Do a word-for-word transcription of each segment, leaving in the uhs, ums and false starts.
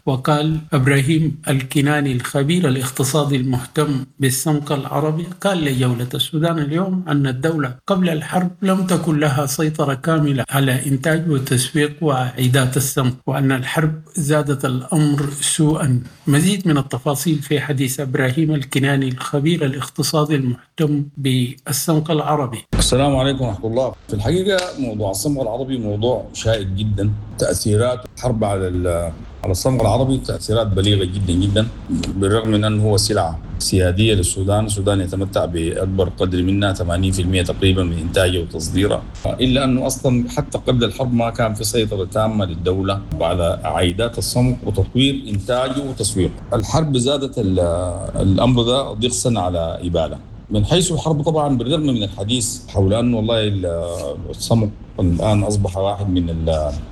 وقال إبراهيم الكناني الخبير الاقتصادي المهتم بالصمغ العربي قال لجولة السودان اليوم أن الدولة قبل الحرب لم تكن لها سيطرة كاملة على إنتاج وتسويق وعائدات الصمغ وأن الحرب زادت الأمر سوءا. مزيد من التفاصيل في حديث إبراهيم الكناني الخبير الاقتصادي المهتم بالصمغ العربي. السلام عليكم ورحمة الله. في الحقيقة موضوع الصمغ العربي موضوع شائك جدا، تأثيرات الحرب على على الصمغ العربي تأثيرات بليغة جدا جدا، بالرغم من أنه هو سلعة سيادية للسودان، السودان يتمتع بأكبر قدر منها ثمانين بالمئة تقريبا من إنتاجه وتصديره، إلا أنه أصلا حتى قبل الحرب ما كان في سيطرة تامة للدولة على عائدات الصمغ وتطوير إنتاجه وتسويقه. الحرب زادت الأمر ده ضغطا على إبالة. من حيث الحرب طبعا بالرغم من الحديث حول أنه والله الصمغ الآن أصبح واحد من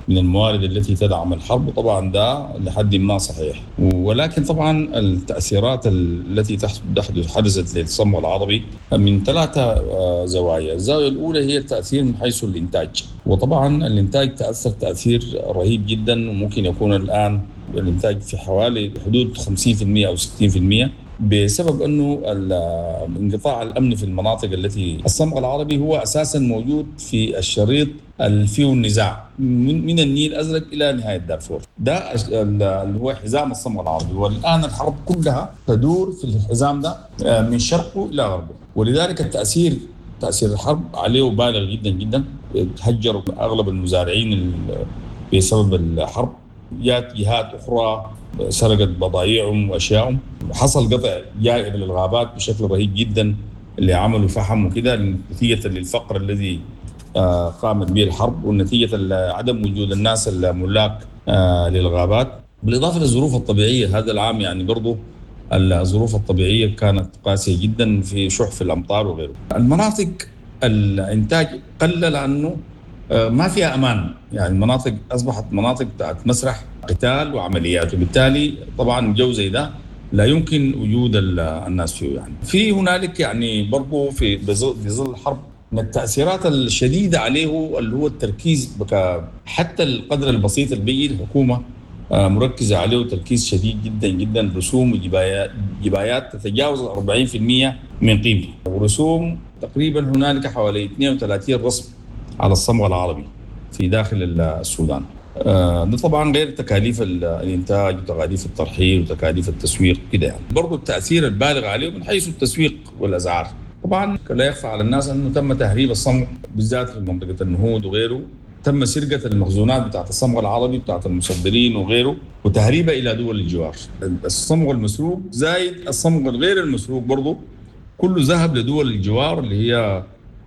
من الموارد التي تدعم الحرب، طبعا ده لحد ما صحيح، ولكن طبعا التأثيرات التي تحدث حدثت للصمغ العربي من ثلاثة زوايا. الزاوية الأولى هي التأثير من حيث الإنتاج، وطبعا الإنتاج تأثر تأثير رهيب جدا، وممكن يكون الآن الإنتاج في حوالي حدود خمسين بالمئة أو ستين بالمئة بسبب أنه انقطاع الأمن في المناطق التي الصمغ العربي هو أساسا موجود في الشريط اللي فيه النزاع من, من النيل الأزرق إلى نهاية دارفور، ده اللي هو حزام الصمغ العربي، والآن الحرب كلها تدور في الحزام ده من شرقه إلى غربه، ولذلك التأثير تأثير الحرب عليه بالغ جدا جدا. تهجروا أغلب المزارعين بسبب الحرب، جات جهات أخرى سرقت بضائعهم وأشيائهم، حصل قطع جائر للغابات بشكل رهيب جدا اللي عملوا فحم وكده نتيجة للفقر الذي قامت به الحرب، ونتيجة لعدم وجود الناس الملاك للغابات، بالإضافة للظروف الطبيعية. هذا العام يعني برضو الظروف الطبيعية كانت قاسية جدا في شح في الأمطار وغيره. المناطق الإنتاج قل لأنه ما فيها أمان، يعني المناطق أصبحت مناطق بتاعت مسرح قتال وعمليات، وبالتالي طبعا جو زي ده لا يمكن وجود الناس فيه. يعني في هنالك يعني برضو في بظل الحرب من التأثيرات الشديدة عليه اللي هو التركيز بك حتى القدر البسيط اللي بيجي الحكومة مركزة عليه تركيز شديد جدا جدا، رسوم وجبايات جبايات تتجاوز أربعين بالمئة من قيمته، ورسوم تقريبا هنالك حوالي اثنين وثلاثين رسم على الصمغ العربي في داخل السودان. ده طبعا غير تكاليف الانتاج وتكاليف الترحيل وتكاليف التسويق كده. يعني برضو التأثير البالغ عليه من حيث التسويق والأسعار. طبعا لا يخفى على الناس أنه تم تهريب الصمغ بالذات في منطقة النهود وغيره، تم سرقة المخزونات بتاعت الصمغ العربي بتاعت المصدرين وغيره وتهريبها إلى دول الجوار. الصمغ المسروق زايد الصمغ الغير المسروق برضو كله ذهب لدول الجوار اللي هي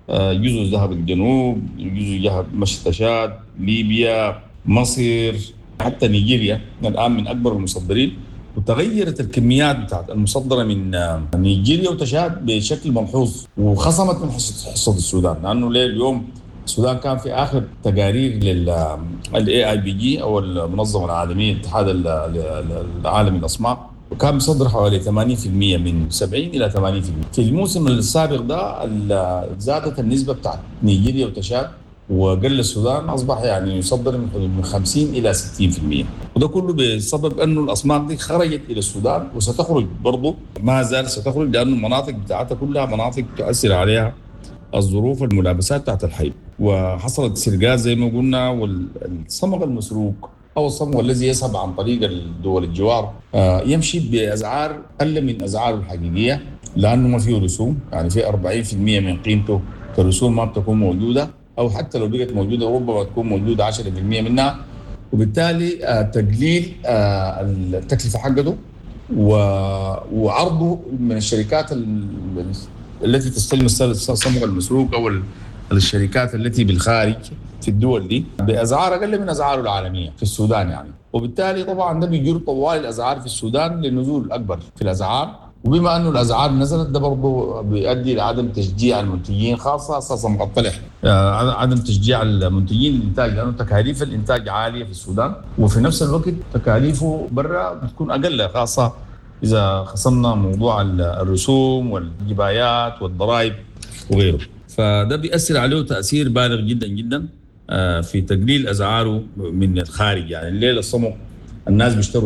جزء ذهب الجنوب، جزء ذهب مشتشاد، ليبيا، مصر، حتى نيجيريا الآن من أكبر المصدرين. وتغيرت الكميات بتاعت المصدرة من نيجيريا وتشاد بشكل ملحوظ، وخصمت من حصة السودان، لأنه ليه اليوم السودان كان في آخر تقارير لل إيه آي بي جي أو المنظمة العالمية الاتحاد العالمي للأصماغ، وكان مصدر حوالي ثمانين بالمئة من سبعين إلى ثمانين بالمئة. في الموسم السابق ده زادت النسبة بتاعت نيجيريا وتشاد وقل السودان، أصبح يعني يصدر من حدود من خمسين إلى ستين بالمئة، وده كله بسبب أنه الأصماغ دي خرجت إلى السودان وستخرج برضه، ما زال ستخرج لأن المناطق بتاعتها كلها مناطق تؤثر عليها الظروف الملابسات بتاعت الحي، وحصلت سرقات زي ما قلنا. والصمغ المسروق أو الصمغ الذي يذهب عن طريق الدول الجوار يمشي بأسعار أقل من أسعاره الحقيقية لأنه ما فيه رسوم، يعني في أربعين بالمئة من قيمته كرسوم ما بتكون موجودة، أو حتى لو بقت موجودة ربما تكون موجودة عشرة بالمئة منها، وبالتالي تقليل التكلفة حقته وعرضه من الشركات التي تستلم الصمغ المسروق أو الشركات التي بالخارج في الدول دي بأسعار أقل من أسعاره العالمية في السودان يعني، وبالتالي طبعا ده بيجر طوال الأسعار في السودان للنزول الأكبر في الأسعار. وبما أنه الأسعار نزلت ده برضه بيؤدي لعدم تشجيع المنتجين، خاصة صمغ الطلح، عدم تشجيع المنتجين للإنتاج لأنه تكاليف الإنتاج عالية في السودان، وفي نفس الوقت تكاليفه برا بتكون أقل، خاصة إذا خصمنا موضوع الرسوم والجبايات والضرائب وغيره. فده بيأثر عليه تأثير بالغ جدا جدا في تقليل أسعاره من الخارج. يعني الليلة الصمغ الناس بيشتروا